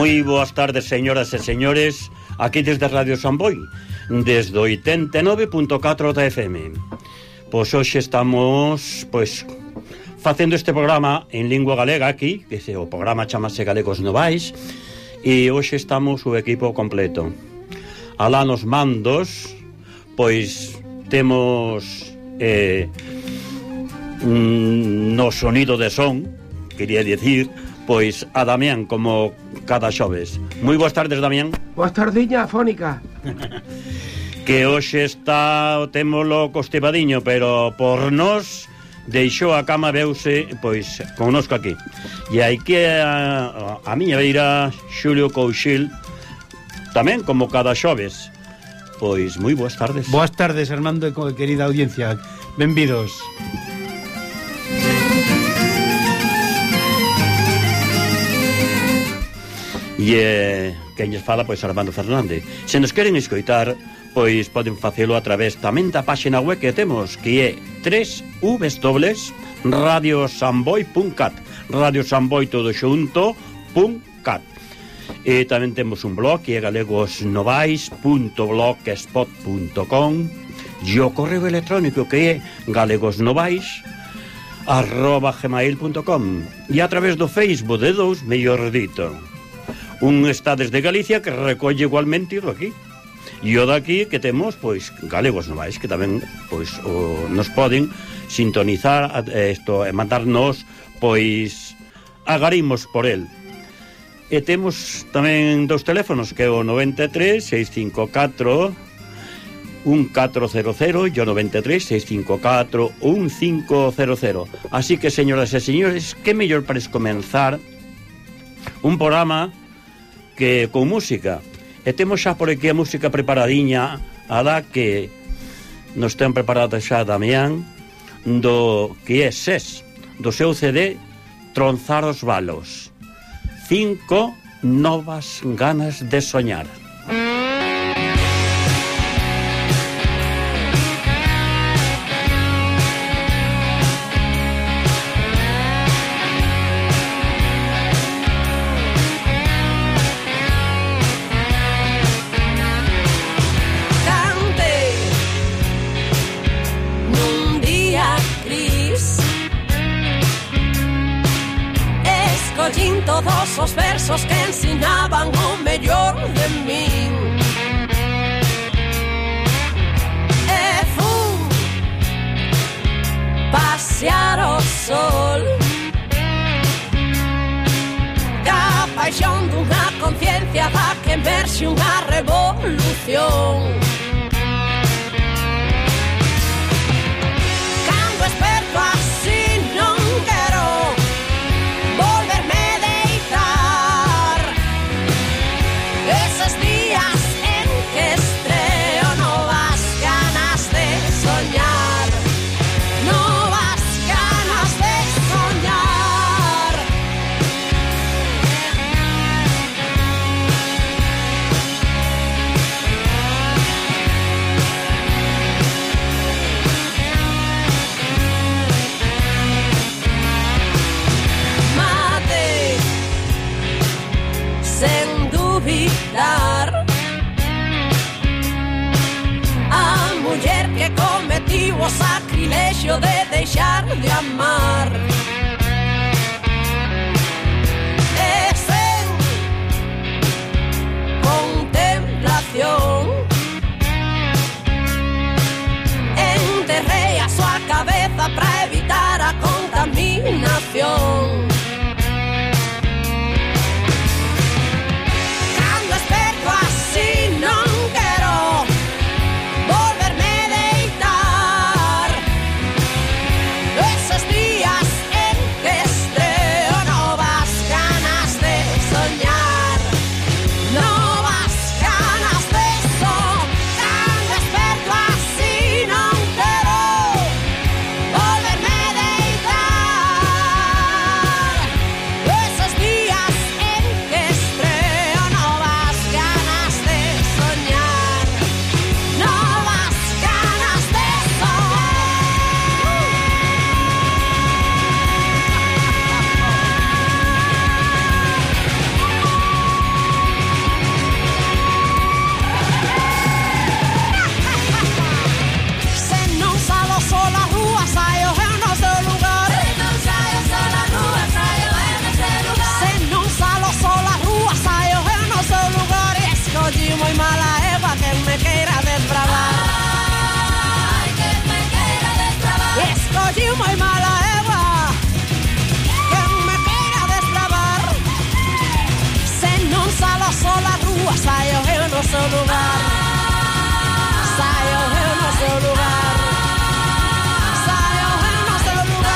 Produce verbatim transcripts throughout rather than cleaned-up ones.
Moi boas tardes, señoras e señores, aquí desde Radio Samboy, desde oitenta e nove punto catro da F M. Pois hoxe estamos, pois, facendo este programa en lingua galega aquí, que se, o programa chamase Galegos Novais, e hoxe estamos o equipo completo. Alá nos mandos, pois, temos eh, no sonido de son, quería dicir, pois a Damián, como cada xoves. Moi boas tardes, Damián. Boas tardiña, Fónica. Que hoxe está, témolo costevadiño, pero por nós deixou a cama, veuse, pois, connosco aquí. E hai que a, a miña beira Xulio Couchil, tamén como cada xoves. Pois, moi boas tardes. Boas tardes, Armando e querida audiencia. Benvidos. E eh, quen lles fala, pois, Armando Fernández. Se nos queren escoitar, pois poden facelo a través tamén da páxina web que temos, que é w w w punto radio samboy punto cat, Radio Samboy todo xunto punto cat. E tamén temos un blog que é galegosnovais punto blogspot punto com, e o correo electrónico que é galegosnovais arroba gmail punto com, e a través do Facebook de dous, mellor dito. Un está desde Galicia que recolle igualmente ido aquí. E o daqui que temos, pois, Galegos Novais, que tamén, pois, o, nos poden sintonizar isto, e mandarnos, pois, agarimos por el. E temos tamén dos teléfonos, que é o noventa e tres, seis cinco catro, un catro cero cero e o noventa e tres, seis cinco catro, un cinco cero cero. Así que, señoras e señores, que mellor para comenzar un programa que con música. E temos xa por aquí a música preparadiña, a da que nos ten preparada xa Damián, do que é S E S, do seu C D Tronzar os Balos. Cinco novas ganas de soñar. Todos os versos que ensinaban o mellor de min, e fun pasear o sol ca paixón dunha conciencia da que emerxe unha revolución. Cando esperto así non quero volverme esos días en que estreo novas ganas de soñar, novas ganas de soñar. Mate, sen duvidar, a muller que cometiu o sacrilexio de deixar de amar, e sen contemplación enterrei a súa cabeza para evitar a contaminación. Esos días moi mala eva que me queira desbravar. Ai, que me queira desbravar. Escolliu moi mala eva que me queira desbravar. Se non salo sola a rúa, saio eu no seu lugar. Saio eu no seu lugar. Saio eu no seu lugar.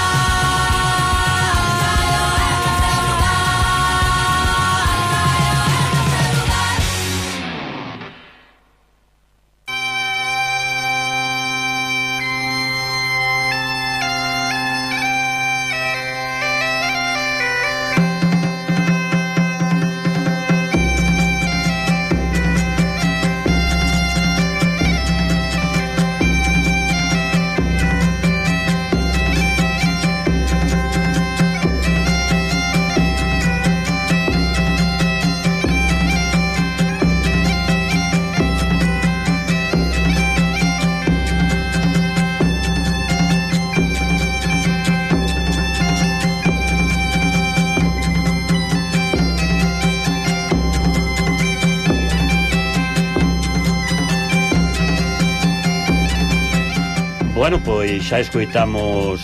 Bueno, pois xa escoitamos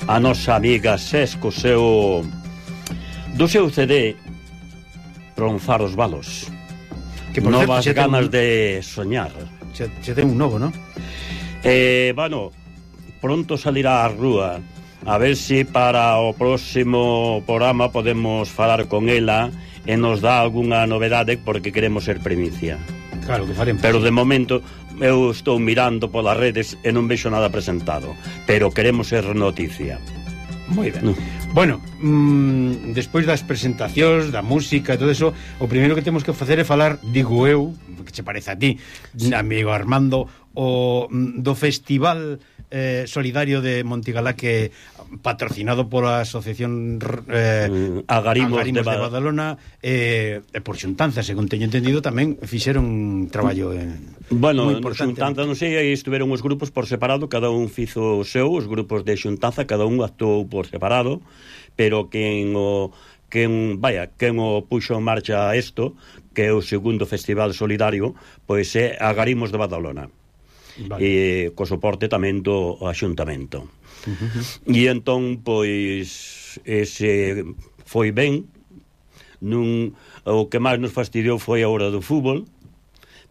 a nosa amiga Ses co seu do seu C D Tronzar os balos. Que por Novas certo, ganas ten un... de soñar. Se, se ten un novo, non? Eh, bueno, pronto salirá á rúa. A ver se para o próximo programa podemos falar con ela e nos dá algunha novedade, porque queremos ser primicia. Claro, que faremos. Pero de momento eu estou mirando polas redes e non vexo nada presentado, pero queremos ser noticia. Moi ben. No. Bueno, mmm, despois das presentacións, da música e todo eso, o primeiro que temos que facer é falar, digo eu, que che parece a ti, amigo Armando, o do Festival eh, Solidario de Montigalá, que patrocinado pola Asociación eh, Agarimos, Agarimos de, de Badalona e eh, por xuntanza, según teño entendido, tamén fixeron un traballo eh, bueno, moi importante. xuntanza, non sei, aí estuveron os grupos por separado, cada un fizo o seu, os grupos de xuntanza, cada un actuou por separado, pero quen o quen, vaya, quen o puxo en marcha isto, que é o segundo Festival Solidario, pois é Agarimos de Badalona. Vale. E co soporte tamén do Axuntamento. Uh-huh. E entón, pois, ese foi ben. Nun, o que máis nos fastidiou foi a hora do fútbol,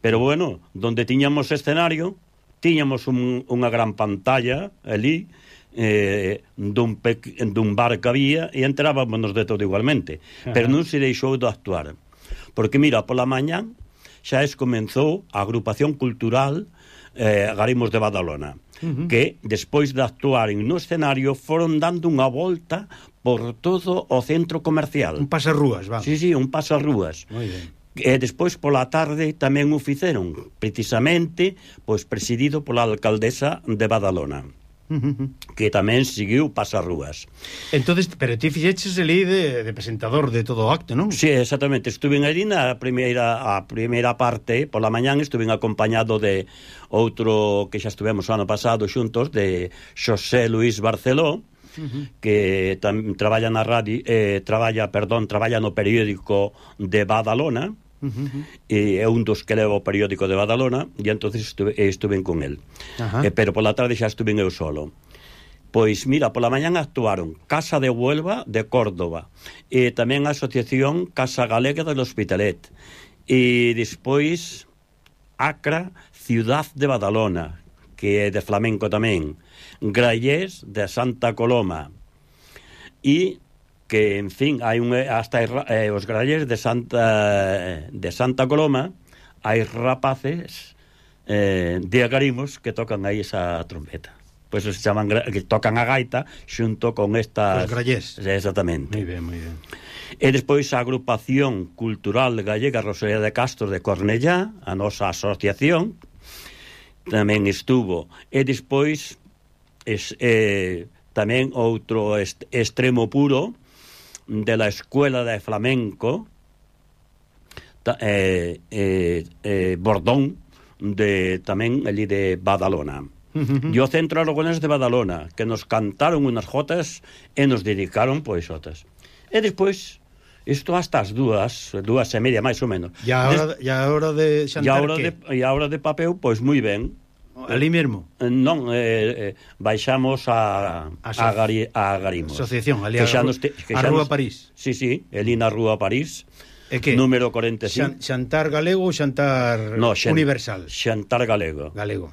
pero bueno, donde tiñamos escenario, tiñamos un, unha gran pantalla ali, eh, dun, pe, dun bar que había, e entrábamos de todo igualmente. Uh-huh. Pero non se deixou de actuar, porque mira, pola mañán xa es comenzou a agrupación cultural eh, Agarimos de Badalona, uh-huh, que despois de actuaren no escenario foron dando unha volta por todo o centro comercial. Un pasarrúas, vamos. Sí, sí, un pasarrúas. Moi ben. E despois pola tarde tamén o fixeron, precisamente, pois presidido pola alcaldesa de Badalona, uh-huh, que tamén seguiu pasarrúas. Entonces, pero ti fixeches ali de, de presentador de todo o acto, non? Sí, exactamente, estuve ali na primeira, a primeira parte, pola mañán estuve acompañado de outro que xa estuvemos o ano pasado xuntos, de Xosé Luis Barceló, uh-huh, que tam, traballa na radio, eh, traballa, perdón, traballa no periódico de Badalona, uh-huh, e é un dos que leva o periódico de Badalona, e entonces estuve, estuve con el. Uh-huh. Eh, pero pola tarde xa estuve eu solo. Pois mira, pola mañán actuaron Casa de Huelva de Córdoba, e tamén a Asociación Casa Galega del Hospitalet, e despois Acra, Ciudad de Badalona, que é de flamenco tamén, Grallés de Santa Coloma, e que, en fin, hai un, hasta eh, os Grallés de Santa de Santa Coloma, hai rapaces eh, de Agarimos que tocan aí esa trompeta. Pois pues se chaman, que tocan a gaita xunto con estas... Os Grallés. Exactamente. Moi ben, moi ben. E despois a Agrupación Cultural Gallega Rosalía de Castro de Cornellá, a nosa asociación, tamén estuvo. E despois es, eh, tamén outro est extremo puro de la Escuela de Flamenco, ta, eh, eh, eh, Bordón, de tamén ali de Badalona. Uh-huh. E o Centro Aragonés de Badalona, que nos cantaron unas jotas e nos dedicaron pois jotas. E despois Isto hasta as dúas, dúas e media máis ou menos. E a hora, Des... e a hora de E a xantar hora que? de, e a hora de papeu, pois moi ben. Ali mesmo? Non, eh, eh, baixamos a, A a, so- Gari, a Garimos. Asociación, ali Que a, xa ru- nos te- que a xa Rúa nos- París. Sí, sí, eli na Rúa París, E que? número cuarenta e cinco. Xan, xantar galego ou xantar No, xan- universal? Xantar galego. Galego.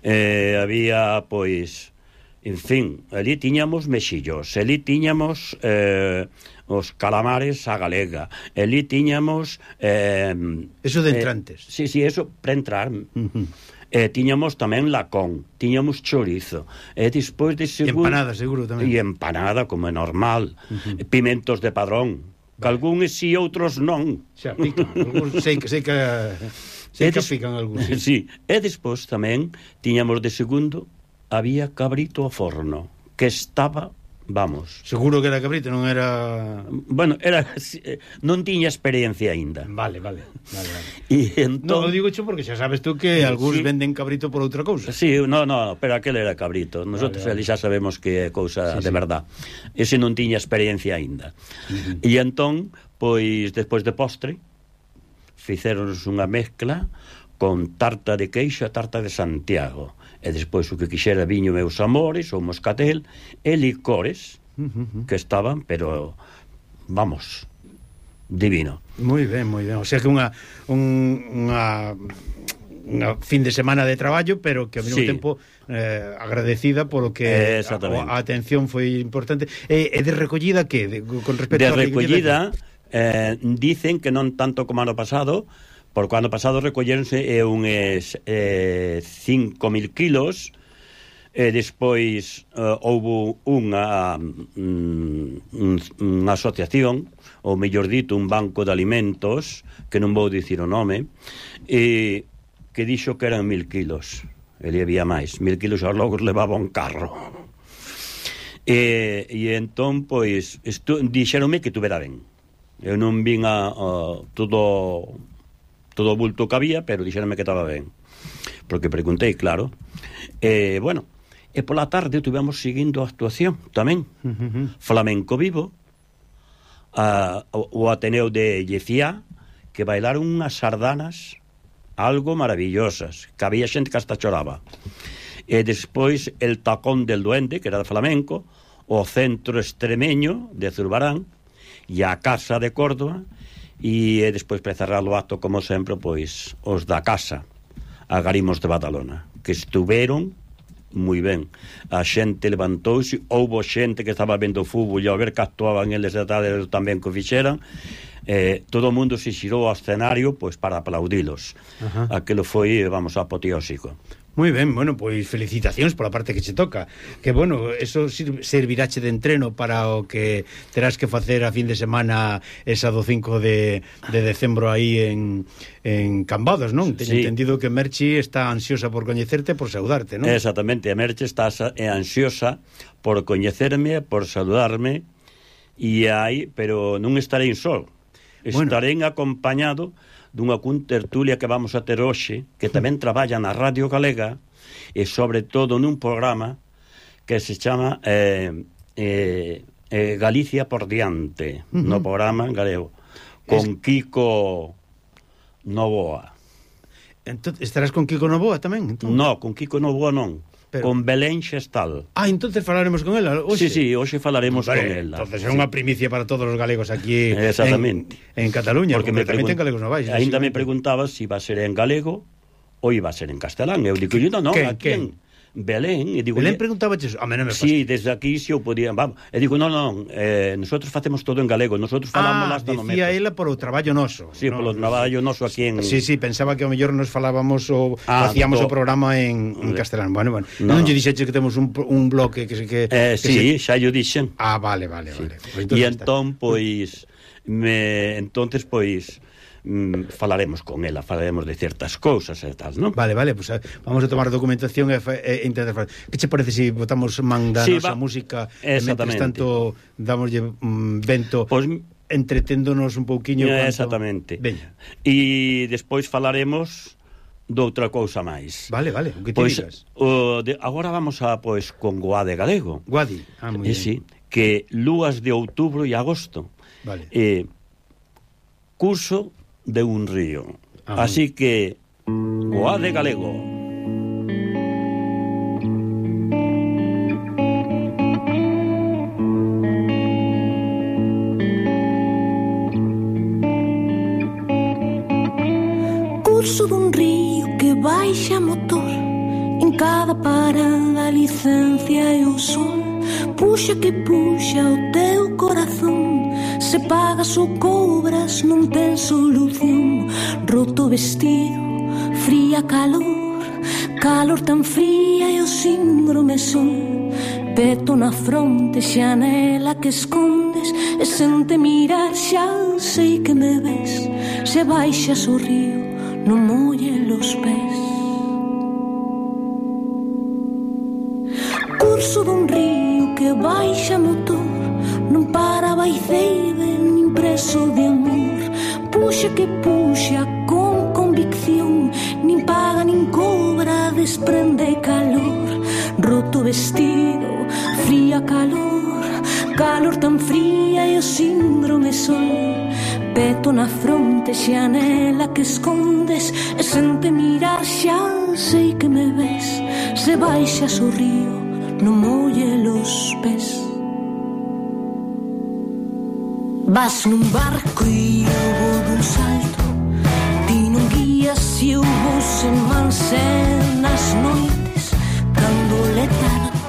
Eh, había, pois, en fin, ali tiñamos mexillos, ali tiñamos eh, os calamares a galega, ali tiñamos... Eh, Eso de eh, entrantes. sí, sí, eso para entrar... Uh-huh. Eh, tiñamos tamén lacón, tiñamos chorizo, e despois de E segundo... empanada, seguro, tamén. E empanada, como é normal. Uh-huh. Pimentos de padrón, que algúns sí, outros non. Xa pican, algúns sei que sei que sei E que des- pican algúns. Sí. Sí, e despois tamén tiñamos de segundo, había cabrito ao forno, que estaba, vamos... Seguro que era cabrito, non era... Bueno, era non tiña experiencia aínda. Vale, vale, vale, vale. E No, entón... digo cho porque xa sabes tú que algúns Sí. venden cabrito por outra cousa. Sí, no, no, pero aquel era cabrito. Nosotros Vale, vale. ali xa sabemos que é cousa Sí, de sí. verdad. Ese non tiña experiencia aínda. Uh-huh. E entón, pois, despois de postre, fixéronos unha mezcla con tarta de queixo e tarta de Santiago. E despois o que quixera viño meus amores, ou moscatel, e licores, Uh-huh. que estaban, pero, vamos, divino. Moi ben, moi ben. O sea que unha un, unha unha fin de semana de traballo, pero que ao mesmo Sí. tempo eh, agradecida polo que Eh, a, exactamente. a atención foi importante. E, e de recollida que de, con respecto De á recollida, eh, dicen que non tanto como ano pasado, porque o ano pasado recolleronse eh, uns eh, cinco mil kilos, e despois eh, houbo unha mm, unha asociación, ou mellor dito, un banco de alimentos, que non vou dicir o nome, e que dixo que eran mil kilos. Ele había máis, mil kilos aos logo levaba un carro. E, e entón, pois, estu, dixeronme que tuvera ben. Eu non vin a, a todo todo o bulto que había, pero dixeronme que estaba ben. Porque preguntei, claro. E, bueno, e pola tarde tivemos seguindo a actuación tamén. Uh-huh. Flamenco Vivo, a, o, o Ateneo de Llecía, que bailaron unhas sardanas algo maravillosas, que había xente que hasta choraba. E despois el Tacón del Duende, que era de flamenco, o Centro Extremeño de Zurbarán, e a Casa de Córdoba, e despois para cerrar o acto, como sempre, pois os da Casa, a Garimos de Badalona, que estuveron moi ben. A xente levantouse, houbo xente que estaba vendo fútbol e ao ver que actuaban eles de tarde tamén que o fixeran, eh, todo o mundo se xirou ao escenario pois para aplaudilos. Ajá. Aquilo foi, vamos, apoteósico. Moi ben, bueno, pois felicitacións pola parte que che toca. Que, bueno, eso sir- servirache de entreno para o que terás que facer a fin de semana esa do cinco de, de decembro aí en, en Cambados, non? Teño Sí. entendido que Merchi está ansiosa por coñecerte, por saudarte, non? Exactamente, a Merche está sa- é ansiosa por coñecerme, por saludarme, e aí, pero non estarei só. Bueno. Estarei acompañado dunha contertulia que vamos a ter hoxe, que tamén traballa na Radio Galega, e sobre todo nun programa que se chama eh, eh, eh, Galicia por diante, Uh-huh. no programa galego, con Kiko Novoa. Entón, estarás con Kiko Novoa tamén? Entón? No, con Kiko Novoa non, Pero- con Belén Xestal. Ah, entonces falaremos con ela hoxe. Sí, sí, hoxe falaremos Vale, con ela. entonces é unha primicia para todos os galegos aquí Exactamente. en, en Cataluña, porque, me tamén ten pregun- galegos novais. Ainda me lógicamente. preguntaba se si iba a ser en galego ou iba a ser en castelán. Eu digo, non, non, Quen, aquí en Belén. E digo, Belén "Oye, preguntaba eso. A mí non me sí, desde aquí si eu podía, vamos. E digo, non, non, eh, nosotros facemos todo en galego, nosotros falamos Ah, hasta no dicía metro. ela por o traballo noso. Sí, no, polo traballo noso aquí en... Sí, sí, pensaba que ao mellor nos falábamos o Ah, facíamos o to- programa en, en castelán. Bueno, bueno. No, Non no. lle dixeche que temos un, un bloque que se que, Eh, que sí, se... xa yo dixen. Ah, vale, vale, vale. Pues E está. entón, pois, me, entonces, pois, mm, falaremos con ela, falaremos de certas cousas e tal, non? Vale, vale, pues eh, vamos a tomar documentación e, fa- e intentar falar. Que che parece se si botamos man da Sí, nosa va- música e mentres Exactamente. tanto damoslle mm, vento Pois, entreténdonos un pouquiño Eh, cuanto... exactamente. Veña. E despois falaremos doutra cousa máis. Vale, vale, o que te Pois digas. o de, agora vamos a pois con Goade Galego. Guadi. Ah, moi Eh, ben. sí, que lúas de outubro e agosto. Vale. Eh, curso de un río. Ajá. Así que, goá de galego. Curso dun río que baixa motor, en cada parada a licencia e o sol. Puxa que puxa o teu corazón, se pagas ou cobras non ten solución. Roto vestido, fría calor, calor tan fría e o síndrome sol. Peto na fronte, xanela que escondes, e sente mirar xa sei que me ves. Se baixas o río, non molle los pés. Curso dun río que baixa motor, non para baiceide nin preso de amor. Puxa que puxa con convicción, nin paga nin cobra, desprende calor. Roto vestido, fría calor, calor tan fría e o síndrome sol. Peto na fronte, xanela que escondes, e sente mirar xa sei que me ves. Se baixas o río, non molle los pés. Vas nun barco e eu vou dun salto, ti non guías e eu vou sen manse. Nas noites, cando letargo,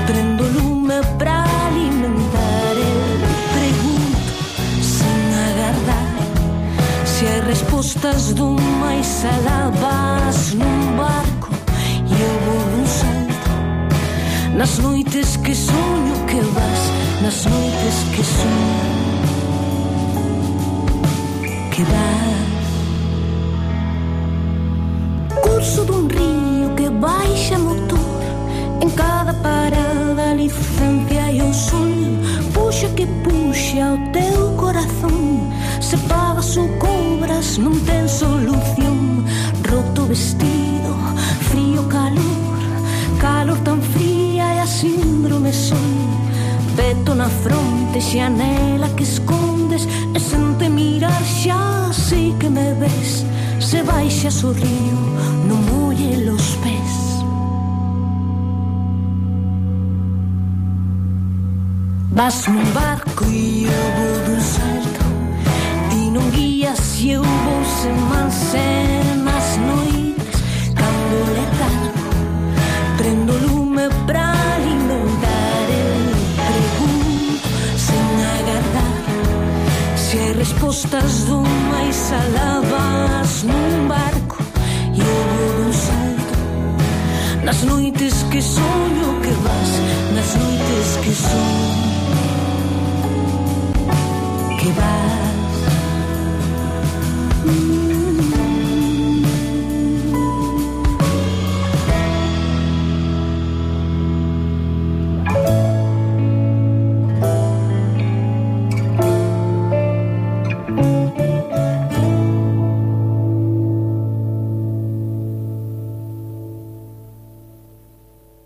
prendo lume pra alimentar. Eu pregunto, sen agardar, se hai respostas do máis alá. Vas nun barco e eu vou dun salto, nas noites que soño que vas, nas noites que soño que vas. Curso dun río que baixa motor, en cada parada a licencia e o sol. Puxa que puxa o teu corazón, se pagas ou cobras non ten solución. Roto vestido, frío calor, calor tan fría e a síndrome sol. Peto na fronte, xanela que escondes, e sente mirar xa sei que me ves. Se baixas o río, non molle los pés. Vas nun barco e eu vou dun salto, ti non guías e eu vou sen manse.